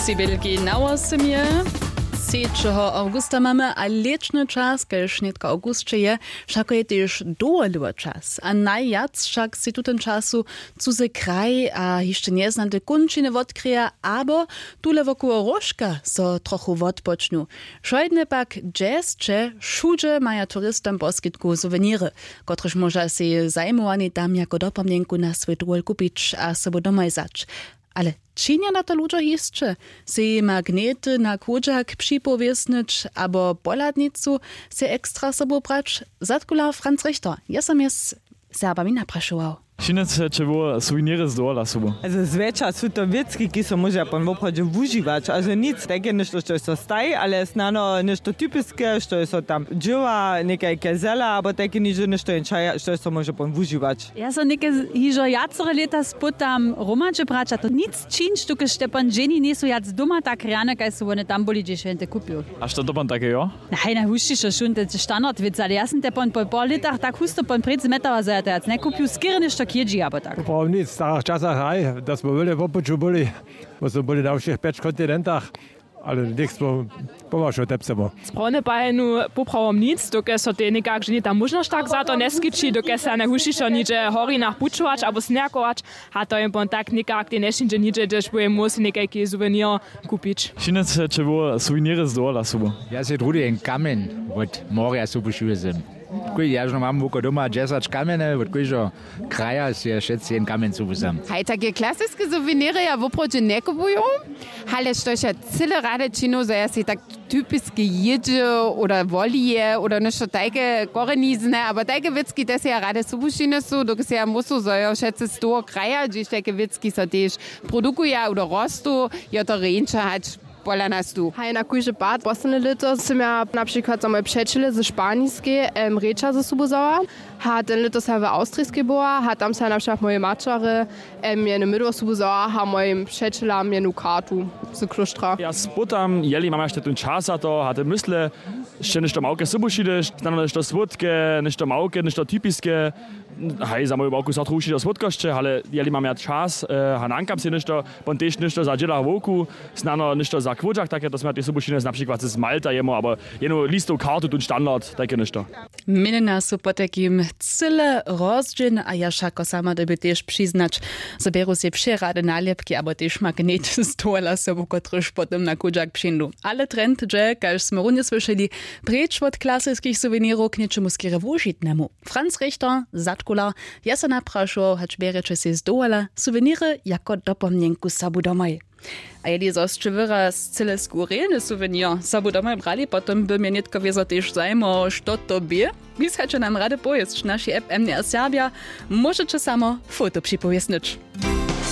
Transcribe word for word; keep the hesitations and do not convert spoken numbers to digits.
Sej bělki na wosomje. Třećeho awgusta mamy a lěćny čas, kaž nětko awgusće je, wšako je tež dowolewy čas a najwjac wšak sej tutym času cuzy kraj a hišće njeznate kónčiny wotkryja abo tule wokoło róžka so trochu wotpočnu. Wšódne pak dźesće wšudźe maja turistom poskitku suweniry, kotrež móža sej zajimowani tam jako dopomnjenku na swój dowol kupić a sobu domoj wzać. Ale činja na to ludźo hišće? Sej magnety na chódźak připowěsnyć abo pohladnicu sej ekstra sobu brać? Zadkular franc richter je so mjez serbami naprašował. Činjeće wo suweniry z dowola sobu? Zwjetša su to wěcki kiž so móžeja pon woprawdźe wužiwać, ale nic tajke něšto štož so staji, ale snano něšto typiske štož so tam dźěła někajke zela abo tajke nižo něšto jen čaja štož so móže pon wužiwać. Ja so něke hižo wjacore lěta spytam hromadźe brać a to nic čińć dokelž te pon dźeni njejsu wjac doma tak rjane kaž su wone tam byli hdźež je jen te kupił. A što to pon take jo? Haj, najhušćišo šunte standard wěc ale ja sym te pon po pol lětach tak husto pon prěc zmetała zo ja to wjac njekupju skerje něšto k jědźi abo tak. Poprawom nic w starych časach haj, da smo wjele po puću byli, bo smo byli na wšěch pjeć kontinentach, ale něk smo pomašo tepsemo. Sprawne pajenu poprawom nic dokelž so tej někak ženje ta móžnosć tak za to njeskići dokelž se najhušćišo nihdźe w horinach pućować abo sněhakować. A to je pon tak někak tej nješińdźe nihdźe hdźež by je móhł sej někajki suwenijo kupić. Činjeće wo suweniry z dowola sobu? Ja sej druhdy jen kamjeń wot morja sobu šiwjezym. Kóž ja žno mam woko doma dźesać kamjene wot kóždeho kraja sej wšetc jen kamjeń sobu sam. Haj, take klasiske suweniry ja woprawdźe njekupuju, ale štož ja cyle rady činu zo ja sej tak typiske jědźe oder wolije oder něšto tajke korenizne abo tajke wěcki te sej ja rady sobu šinjesu dokelž sej ja móhł so zo jo wšetcy z toho kraja hdźež tajke wěcki so tež produkuja oder rostu, jo to rjeńša hač pola nas tu. Haj, na kóždy pad posledne lěto sym ja na přikład za moje přećele ze španiskej em rěča ze sobu wzała. A ten lěto sym ja w awstriskej była a tam sym ja na přikład mojej maćerje em jenu mydło sobu wzała a mojim přećelam jenu kartu z klóštra. Ja spytam jeli mam jašte tón čas za to a te mysle, sće něšto małke sobu šideš, snano něšto słódke, něšto małke, něšto typiske. Haj, za moju małku so trochu wšitko słódkosće, ale jeli mam ja čas a nankam sej něšto, pon tež něšto za dźěla wowku, snano něšto za chłódźak take to smy ja tež sobu šinjeli na přikład z malta jemu abo jenu listow kartu tón standard tajke něšto. Měnjena su potajkim cyle rozdźěl a ja wšako sama dyrbju tež přiznać, zo bjeru sej přerady nalěpki abo tež magnet z dowola sobu kotryž potom na chódźak přińdu. Ale trend dźe kaž smy runje słyšeli, preč wot klasiskich suwenirow k něčemu skerje wužitnemu. Franc richter, zadkular, je so naprašował hač bjerjeće sej z dowola suweniry jako dopomnjenku sobu domoj. A jeli zo sće wyraz cyle skurjelny suwenir sobu domoj brali potom by mje nětko wězo tež zajimowało što to bě. Wisajće nam rady powěsć w našej app mdr serbja. Móžeće samo foto připowěsnyć.